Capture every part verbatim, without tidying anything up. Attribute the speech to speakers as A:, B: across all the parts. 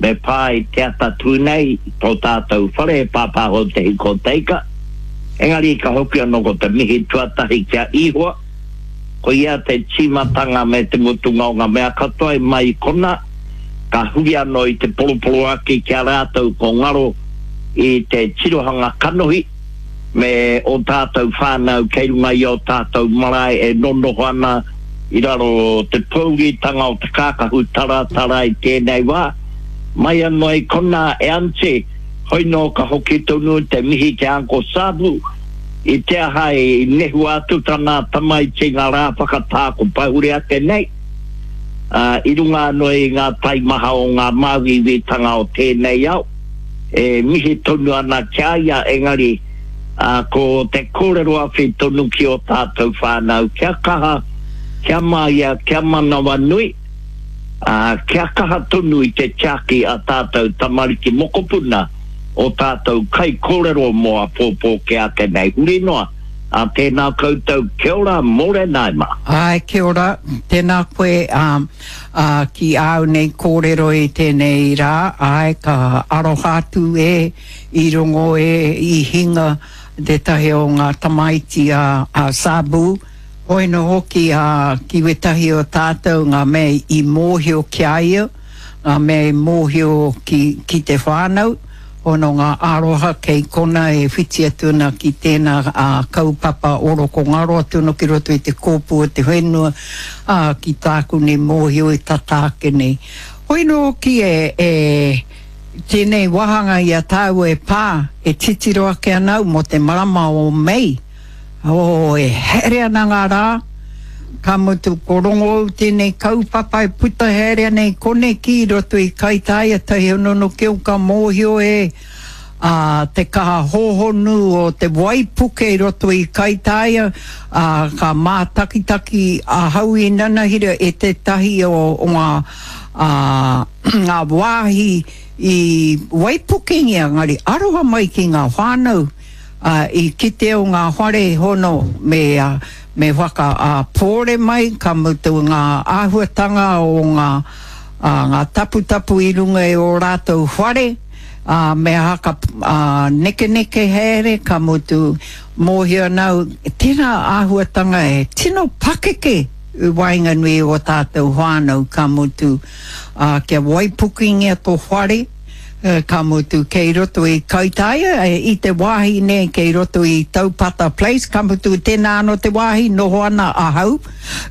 A: Me pā i te atatū nei, tō tātou whare e pāpāho te hiko teika. Engari ka hoki anō ko te mihi tuatahi ki a Ihoa. Ko ia te tīmatanga me te mutunga o ngā mea katoa i mai i kona, ka huri anō i te poroporoaki ki a rātou ko ngaro i te tirohanga kanohi me ō tātou whānau kei runga i ō tātou marae e nonoho ana i raro te pōuritanga o te kākahu taratara i tēnei wā. Mai anō i konā e Aunty, hoi nō ka hoki tonu te mihi ki a Uncle Sabu, i te aha i nehua atu tana tamaiti ngā rā whakatā ko pahure ake nei, ā, i runga anō i ngā taimaha o ngā māuiuitanga o tēnei ao, e mihi tonu ana ki a ia, engari, ā, ko te kōrero awhi tonu ki ō tātou whānau, kia kaha, kia māia, kia manawanui, ā, kia kaha tonu i te tiaki a tātou tamariki mokopuna, ō tātou kaikōrero mō āpōpō kē ake nei, huri noa, ā, tēnā koutou, kia ora, mōrena e mā.
B: Āe, kia ora, tēnā koe, ā, ā, ki āu nei kōrero i tēnei rā, āe, ka aroha atu e, I rongo e i hinga tētahi o ngā tamaiti a a Sabu, hoino hoki a ki wetahi o tātou ngā mea i mōhio ki a ia, ngā mea i mōhio ki ki te whānau, hono ngā aroha kei kona e whiti atu ana ki tēnā a kaupapa oroko ngaro atu ana ki roto i te kōpū o te whenua, ā, ki tāku nei mōhio i tata ake nei. Hoino hoki e e. Tēnei wāhanga i a tāua e pā, e titiro ake ana au mō te marama o Mei. Oh, e haere ana ngā rā, ka mutu ko Rongoou tēnei kaupapa e puta haere ana i koneki i roto i Kaitaia tahi honono ki au ka mōhio e, ā, te kaha hōhonu o te waipuke i roto i Kaitaia, ā, ka mātakitaki ahau i nanahira e tētahi o, o ngā, ā, ngā wāhi i waipukengia, engari aroha mai ki ngā whānau, ā, i kite o ngā whare hono me, ā, me whaka, ā, pōre mai, ka mutu ngā āhuatanga o ngā, ā, ngā taputapu i runga i ō rātou whare, ā, me haka, ā, nekeneke haere, ka mutu, mōhio ana au, tērā āhuatanga e tino pakeke i waenganui i ō tātou whānau, ka mutu, ā, kia waipukingia tō whare, ka mutu, kei roto i Kaitaia, i te wāhi nei kei roto i Taupata Place, ka mutu, tēnā anō te wāhi noho ana ahau,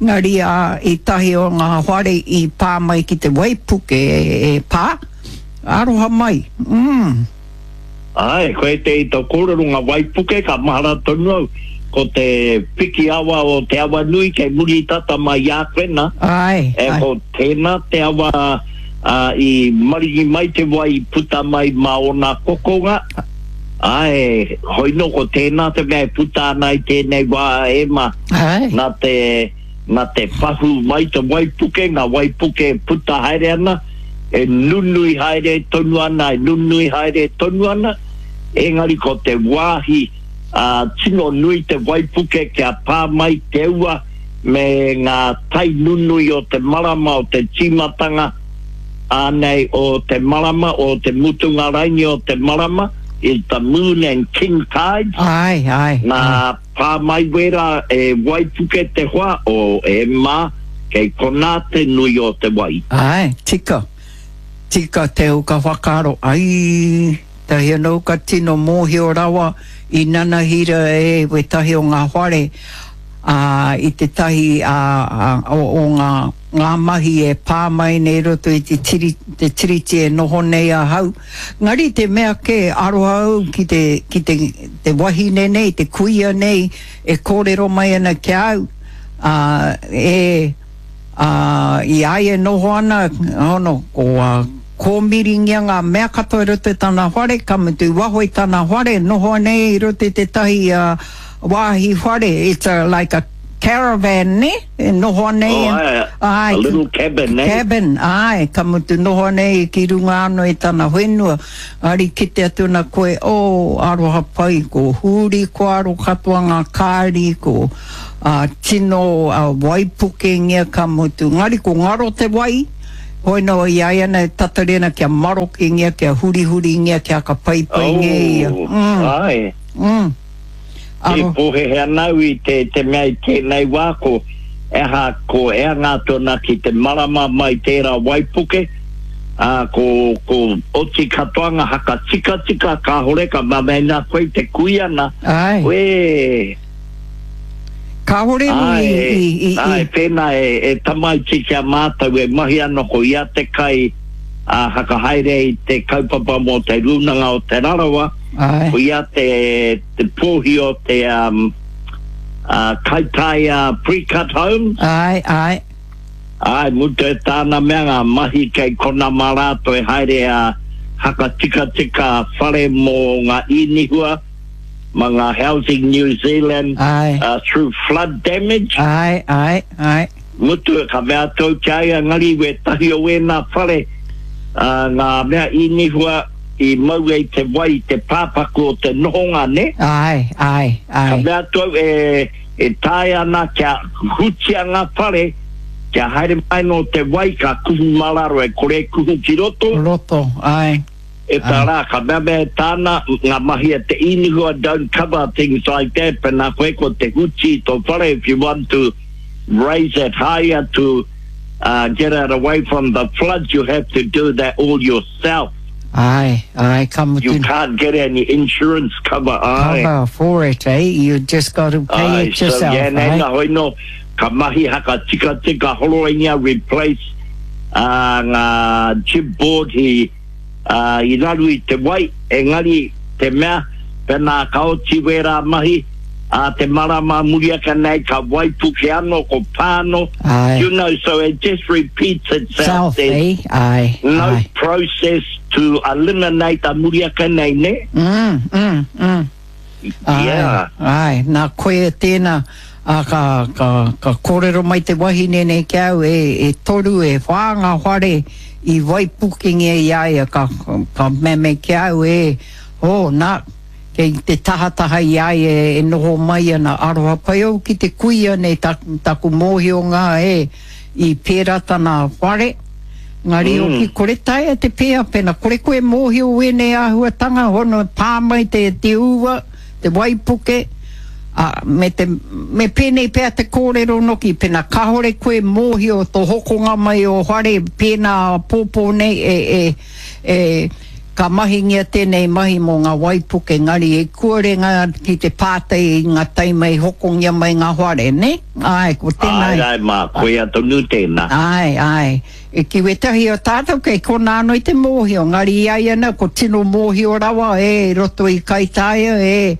B: engari, ā, i tahi o ngā whare i pā mai ki te waipuke e pā, aroha mai, mm.
A: Āe, koe te i to kōrero nga waipuke ka mahara tonu au, ko te piki awa o Te Awanui kei muri tata mai i a koe na,
B: Āe,
A: e
B: āe.
A: ko tēnā te awa a i maringi mai te wai i puta mai mā ōna kokonga, āe, hoino ko tēnā te mea e puta ana i tēnei wā e ma,
B: Āe.
A: na te, na te pahū mai te waipuke, nga waipuke e puta haere ana, e nunui haere tonu ana, e nunui haere tonu ana, engari ko te wāhi ā, tino nui te waipuke kia pā mai te ua me ngā tai nunui o te marama o te tīmatanga ānei o te marama, o te mutunga raini o te marama, is the moon and king tides.
B: Āe, āe,
A: Nā,
B: āe.
A: pā mai wērā e waipuke te hoa o e mā, Kei konā te nui o te wai.
B: Āe, tika. Tika te uka whakaaro, ai, tahi anō ka tino mōhio rawa i nanahira e wētahi o ngā whare, ā, i tētahi, ā, ā, o, o ngā, ngā mahi e pā mai nei i roto i te tiri, te tiriti e noho nei ahau. Engari te mea kē, aroha au ki te, ki te, te wahine nei, te kuia nei e kōrero mai ana ki a au, Ā, e, ā, i a ia e noho ana, hono, ko, ā, kōmiringia ngā mea katoa i roto i tana whare, ka mutu i waho i tana whare, noho ana ia i roto i tētahi, ā, wāhi whare, it's a, like a caravan, nē? E noho ana
A: Oh,
B: ia,
A: āe,
B: āe,
A: a little cabin, nē?
B: Cabin, āe, ka mutu noho ana ia ki runga anō i tana whenua. Engari kite atu ana koe, oh, aroha pai, ko huri ko aro katoa ngā kāri, ko, Ā, tino waipukengia ka mutu. Engari ko ngaro te wai Hoi no i ai ana e tatari ana kia marokengia, kia hurihuringia, kia ka paipaingia ia.
A: Oh,
B: Mm,
A: āe.
B: mm.
A: E
B: Aro,
A: pōhehe ana au i te, te mea i tēnei wā ko eha, ko ea ngā tōna ki te marama mai tērā waipuke, ā, ko, ko oti katoa ngā haka tikatika, kāhore ka mamena koe te kuia na,
B: ai.
A: Uē,
B: Kāhore no i,
A: āe,
B: i, i, i,
A: āe, pēnā e, e tamaiti kia mātau e mahi ana ko ia te kai a hakahaere i te kaupapa mō te rūnanga o Te Rarawa,
B: ai.
A: ko ia te, te pōhi o te um, uh, Kaitaia Pre-Cut Homes.
B: Ai, ai.
A: Ai, mutu e tāna mea ngā mahi kei kona mā rātou e haere a hakatikatika whare mō ngā inihua, ma ngā Housing New Zealand
B: Ai.
A: uh, through flood damage.
B: Ai, ai, ai.
A: Mutu ka mea tau kia ia ngari we tahi o wēnā whare uh, ngā mea inihua i mau e te wai te pāpaku o te nohonga, ne?
B: Ai, ai,
A: Ka
B: ai.
A: mea tau e, e tae ana kia hutia ngā whare, kia haere mai no te wai ka kuhu mararo e kore kuhu ki roto.
B: Roto, ai.
A: E tā rā, ka mea mea tāna, ngā mahi a te inihua don't cover things like that, pēnā koe ko te huti i tō whare, if you want to raise it higher to uh, get it away from the floods, you have to do that all yourself.
B: Ai, ai, ka mutu.
A: You can't get any insurance cover, ai.
B: Cover for it, eh? You just got to pay
A: Ai,
B: it yourself,
A: so, yeah,
B: eh?
A: nā hoi no, ka mahi haka tika tika horoingia replace uh, ngā chip board hi uh, i raru i te wai, engari te mea, pēnā ka oti wērā mahi, a te marama muriaka nei ka waipuke anō, ko pāno,
B: Ai.
A: you know, so it just repeats itself.
B: Self,
A: There's
B: eh? Ai,
A: no
B: ai.
A: process to eliminate a muriaka nei, ne?
B: Mm, mm, mm. Ai,
A: Yeah.
B: Ai, nā koe tēnā, a ka, ka, ka kōrero mai te wahine nei ki au, e, e toru, e whā ngā whare i waipukengia i a ia, ka, ka meme ki au, e, oh, nā, kei te tahataha i a ia e noho mai ana aroha pai au ki te kuia nei taku, taku mōhio ngā e, i pērā tana whare. Ngari mm.
A: Mm.
B: oki kore taea te pēa pena, kore koe mōhio wēnei āhuatanga, hono pā mai te, te ua, te waipuke, a, me, te, me pēnei pēa te kōrero noki, pena kahore koe mōhio tō hokonga mai o whare pēnā pōpō nei e, e, e, ka mahingia tēnei mahi mō ngā waipuke, ngari e kuare ngā ki te pātai i ngā taima i hokongia mai ngā whare, ne? Ai, ko tēnei.
A: Ai, ai, mā, koe a tonu tēnā.
B: Ai, ai. E ki wetahi o tātou kei kona anō i te mōhio, ngari i ai ana ko tino mōhio rawa e roto i Kaitaia e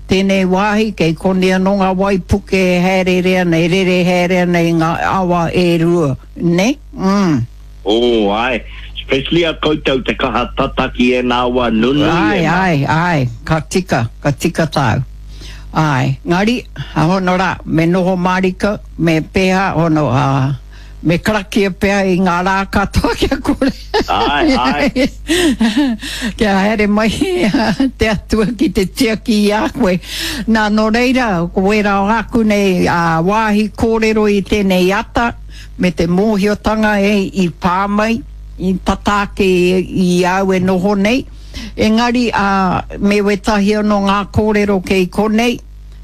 B: tēnei wāhi kei koni anō ngā waipuke e haerere ana, e rere haere ana i ngā awa e rua, ne? Mm.
A: Oh, ai. Especially a koutou te kaha tataki e nā awa nunui
B: Ai,
A: e mā.
B: ai, ai, ka tika, ka tika tāu. Ai, ngari, a hono rā, me noho marika, me pēha, hono, a, me karakia pēha i ngā rā katoa kia kore.
A: Ai, ai.
B: Kia haere mai te atua ki te tiaki i a koe. Nā, nō reira, ko wērā o aku nei a, wāhi kōrero i tēnei ata, me te mōhiotanga e i pā mai, i tata ake i, i au e noho nei. Engari, a, me wetahi anō ngā kōrero kei konei,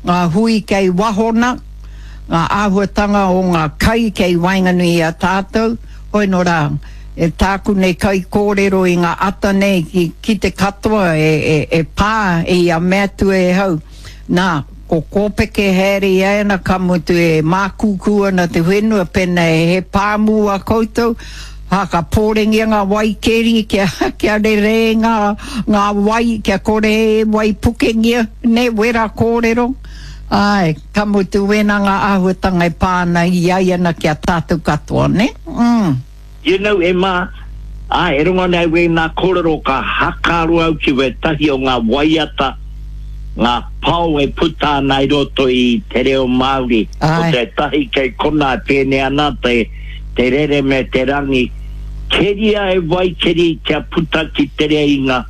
B: ngā hui kei wahona, ngā āhuatanga o ngā kai kei waenganui i a tātou, hoi nō rā, e tāku nei kai kōrero i ngā ata nei ki, ki te katoa e, e, e pā e ia mea atu e hau. Nā, ko kōpeke haere i ana ka mutu e mākūkū ana te whenua pēnā e he pāmu a koutou, ha ka pōrengia ngā waikeri kia, kia rere ngā, ngā wai, kia kore e waipukengia, ne, wera kōrero. Ai, ka mutu wēnā ngā āhuatanga e pā ana i ai ana kia tātou katoa, ne? Mm.
A: You know, Emma, ai, e rongo nei wēnā kōrero ka hakaro au ki wetahi o ngā waiata, ngā pao e puta ana i roto i te reo Māori. Ko
B: Ai.
A: te tahi kei kona e pēne ana te, te rere me te rangi. Keria e waikeri kia puta ki te reinga,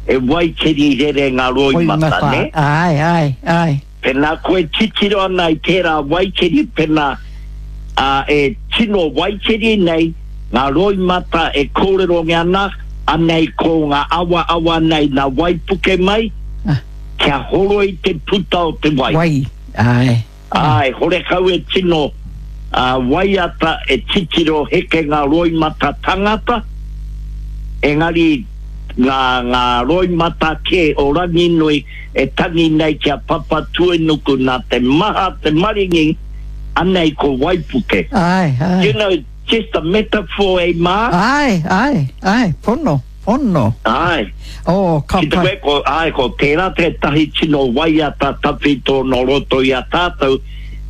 A: e waikeri rere ngā roimata,
B: Roimata.
A: ne?
B: Ai, ai, ai.
A: Pēnā koe titiro ana i tērā waikeri, pēnā uh, e tino waikeri nei, Ngā roimata e kōrerongia ana, anei ko ngā awaawa nei nā waipuke mai,
B: Ah.
A: kia horoi te puta o te wai.
B: Wai, āe.
A: Āe, horekau e tino uh, waiata e titiro heke ngā roimata tangata, engari ngā, ngā roimata kē o Ranginui e tangi nei ki a Papatūānuku nā te maha te maringi, anei ko waipuke.
B: Āe, āe.
A: You know, just a metaphor e mā.
B: Āe, āe, āe, pono, pono.
A: Āe.
B: Oh, ka
A: Ki te
B: pai.
A: wē, ko, āe, ko tērā tētahi tino waiata tawhito no roto i a tātou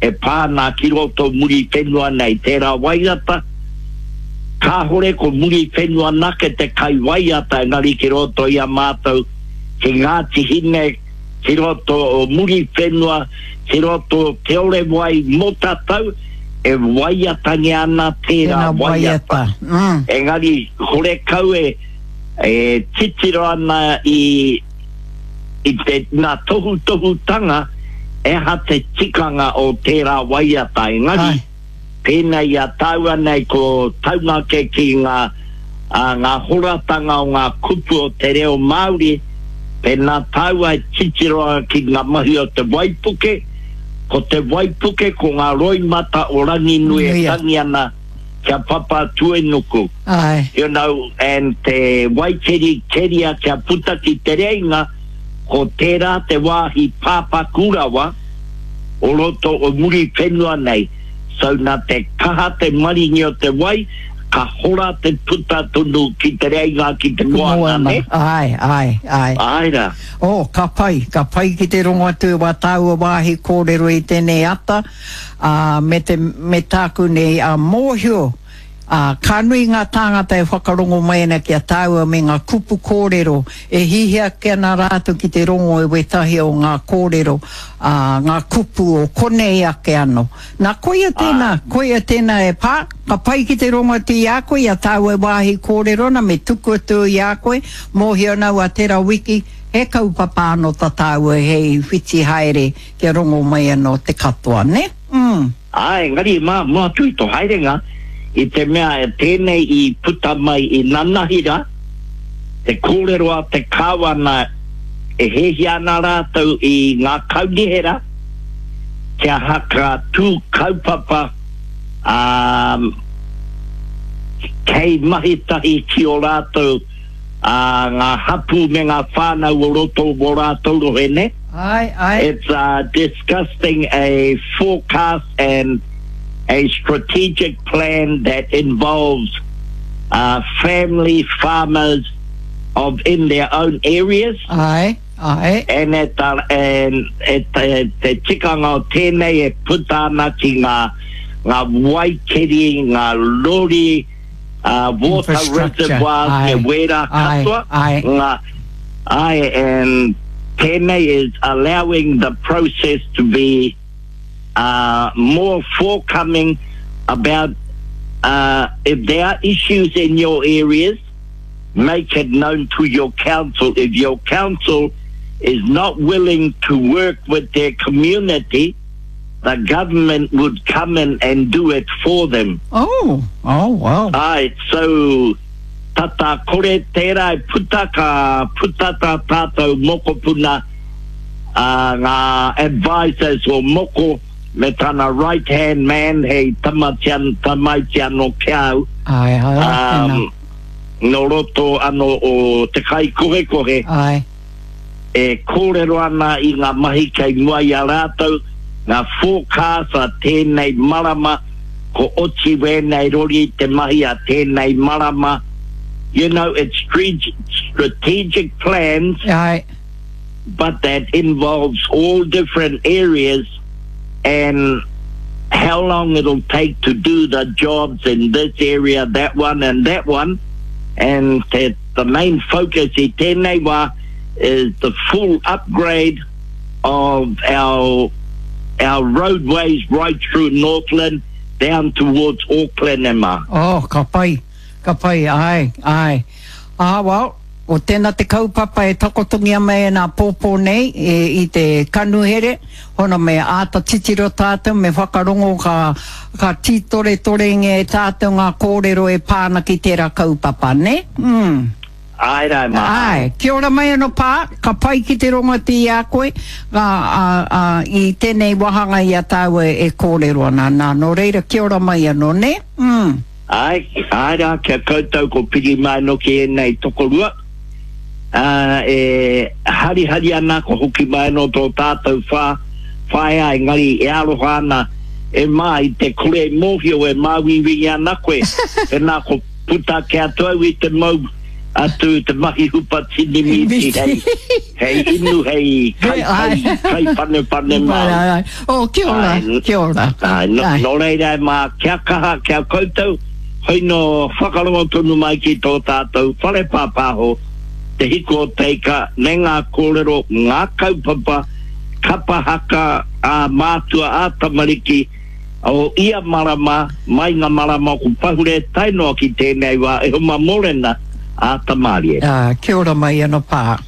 A: e pā ana ki roto Muriwhenua nei. Tērā waiata, kāhore ko Muriwhenua nake te kai waiata engari ki roto i a mātou ki Ngāti Hine, ki roto o Muriwhenua, ki roto o Te Orewai Motatau, e waiatangia ana tērā
B: Tēnā
A: waiata.
B: waiata. Mm.
A: Engari, horekau e, e titiro ana i, i te, ngā tohutohutanga e aha te tikanga o tērā waiata. Engari,
B: Ai.
A: pēnei i a tāua nei ko taungake ki ngā, a, ngā horatanga o ngā kupu o te reo Māori, pēnā tāua e titiro ana ki ngā mahi o te waipuke, ko te waipuke ko ngā roimata o Ranginui e
B: Nuia.
A: tangi ana kia Papatūānuku.
B: Āe.
A: You know, and te waikeri keria kia puta ki te reinga, ko tērā te wāhi pāpaku rawa o roto o Muriwhenua nei. So nā te kaha te maringi o te wai, ka hora te puta tonu ki te reinga ki te moana,
B: Moana.
A: ne?
B: Āe, āe, āe.
A: Āe rā.
B: Oh, ka pai, ka pai ki te rongo atu i wā tāua wāhi kōrero i tēnei ata, uh, me, te, me tāku nei a mōhio, uh, ka nui ngā tāngata e whakarongo mai ana ki a tāua me ngā kupu kōrero, e hihia ake ana rātou ki te rongo e wetahi o ngā kōrero, uh, ngā kupu o konei ake anō. Nā, koia tēnā, koia tēnā e pā, ka pai ki te rongo atu i a koe, i a tāua e wāhi kōrero na, me tuku atu i a koe, mōhio nau a tērā wiki, he kaupapa anō tā tāua hei whiti haere kia rongo mai anō te katoa, ne? Mm.
A: Āe, engari mā, mua atu i tō haerenga, i te mea e tēnei i puta mai i nanahira, te kōrero a te kāwana e hehia ana rātou i ngā kaunihera, kia haka tū kaupapa um, kei mahi tahi ki o rātou uh, ngā hapu me ngā whānau o roto o rātou rohe, ne?
B: Āe, āe.
A: It's uh, discussing a forecast and a strategic plan that involves uh, family farmers of in their own areas.
B: Āe, āe.
A: And at the, and at te, te tikanga o tēnei e puta ana ki ngā, ngā waikeri, ngā lori, uh, water
B: Infrastructure.
A: reservoirs,
B: Āe,
A: me wērā
B: āe,
A: katoa.
B: āe.
A: Ngā, āe, and tēnei is allowing the process to be uh, more forthcoming about uh, if there are issues in your areas, make it known to your council. If your council is not willing to work with their community, the government would come in and do it for them.
B: Oh, oh, wow.
A: Ai, so tata kore tērā e puta ka puta tā tātou mokopuna uh, ngā advisors o moko me tana right hand man hei tamatian, tamaiti anō ki au
B: Āe, āe,
A: um,
B: tēnā.
A: no roto anō o te kai kohekohe
B: Āe.
A: e kōrero ana i ngā mahi kei mua i a rātou, ngā forecast a tēnei marama, ko oti wēnei rori te mahi a tēnei marama. You know, it's strategic plans,
B: Āe.
A: but that involves all different areas and how long it'll take to do the jobs in this area, that one and that one. And te, the main focus i tēnei wā is the full upgrade of our our roadways right through Northland down towards Auckland, Emma.
B: Oh, ka pai, ka pai, āe, āe. Ah, well, O tēnā te kaupapa e takotongia mai e nā pōpō nei e, i te kanuhere, hono me āta titiro tātou, me whakarongo ka, ka tītoretorengia e tātou ngā kōrero e pā ana ki tērā kaupapa, ne? Mm.
A: Āe rā e mā, āe.
B: Āe, kia ora mai anō pā, ka pai ki te rongo atu i a koe, a, a, a, i tēnei wāhanga i a tāua e kōrero ana, nā, nō reira, kia ora mai anō, ne? Mm.
A: Āe, āe rā, ki a koutou ko piri mai anō ki ēnei tokorua, ā, e harihari ana ko hoki mai anō tō tātou whā, whaea, engari e aroha ana e Mā i te kore mōhio e māuiui ana koe, pēnā ko puta ake atu au i te mau atu te mahi hupa tini mīti hei, hei inu, hei kai, kai, kai panepane māu.
B: Oh, kia ora,
A: Āe,
B: kia ora.
A: Āe, no, nō reira e mā, kia kaha ki a koutou, hoi nō whakarongo tonu mai ki tō tātou whare pāpāho, Te Hiku o Te Ika, me ngā kōrero, ngā kaupapa, kapa haka, ā mātua, ā tamariki, o ia marama, mai ngā marama ko pahure tae noa ki tēnei wā e homa mōrena, ā Tamārie.
B: Ā, kia ora mai anō pā.